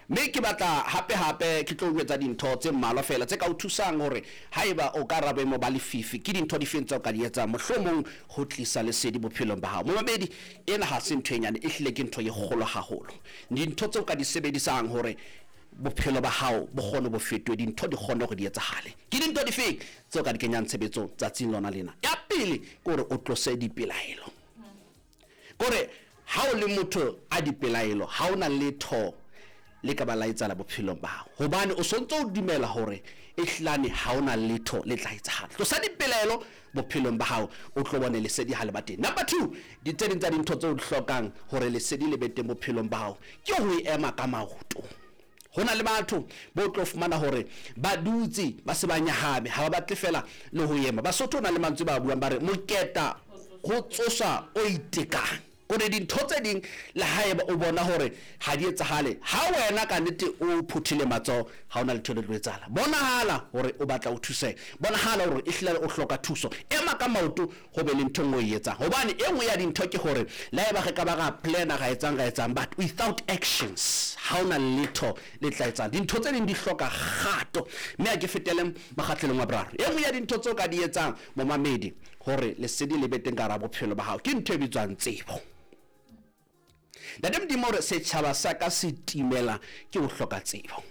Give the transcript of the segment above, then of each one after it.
Mme ke batla hape-hape ke tlo o jwetsa dintho tse mmalwa feela tse ka o thusang hore haeba o ka hara boemo ba lefifi, ke dintho difeng tseo o ka di etsang mohlomong ho tlisa lesedi bophelong ba hao. Momamedi, ena ha se ntho e nyane, ehlile ke ntho e kgolo haholo. Dintho tseo o ka di sebedisang hore bophelo ba hao bo kgone bo fetohe, dintho di kgone hore di etsahale. Ke dintho difeng tseo o ka di kenyang tshebetsong tsatsing lona lena? Ya pele ke hore o tlose dipelaelo. Kore ha o le motho a dipelaelo, ha o na letho le ka ba la etsahala bophelong ba hao. Hobane o sontso o dumela hore ehlilane ha o na letho le tla etsahala. Tlosa dipelaelo bophelong ba hao, o tlo bone lesedi ha le ba teng. Number two, di tse ding tsa dintho tseo o di hlokang hore lesedi le be teng bophelong ba hao ke ho ema ka maoto. Ho na le batho bo tlo fumana hore ba dutse ba se ba nyahame, ha ba batle fela le ho ema. Basotho ho na le mantswe ba buang ba re moketa ho tsosa o itekang. Kore dintho tse ding le haeba o bona hore ha di etsahale, ha wena ka nnete o phuthile matsoho, ha hona letho le tlo etsahala. Bonahala hore o batla ho thuseha, bonahala hore ehlile o hloka thuso. Ema ka maoto ho be le ntho e nngwe o e etsang. Hobane e nngwe ya dintho ke hore le haeba re ka ba ra plan-a ra etsang ra etsang, but without actions ha hona letho le tla etsang. Dintho tse ding di hloka kgato. Mme ha ke fetele mokgahlelong wa boraro. E nngwe ya dintho tseo ka di etsang momamedi hore lesedi le be teng ka hara bophelo ba hao ke ntho e bitswang tsebo. Ntate Modimo o re setjhaba sa ka se timela ke ho hloka tsebo.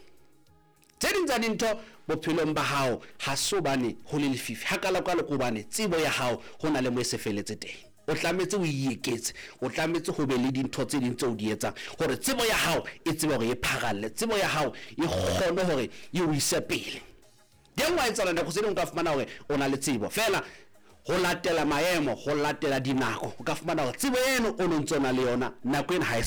Tse ding tsa dintho bophelong ba hao ha se hobane ho le lefifi hakalokalo, ke hobane tsebo ya hao ho na le mo e se feletse teng. O tlametse o e eketse, o tlametse ho be le dintho tse ding tseo o di etsang hore tsebo ya hao e tsebe hore e pharalle, tsebo ya hao e kgone hore e o ise pele. Teng wa etsahala nako tse ding o ka fumana hore o na le tsebo feela ho latela maemo, ho latela dinako, o ka fumana hore tsebo eno o no ntso na le yona nako ena ha e sa.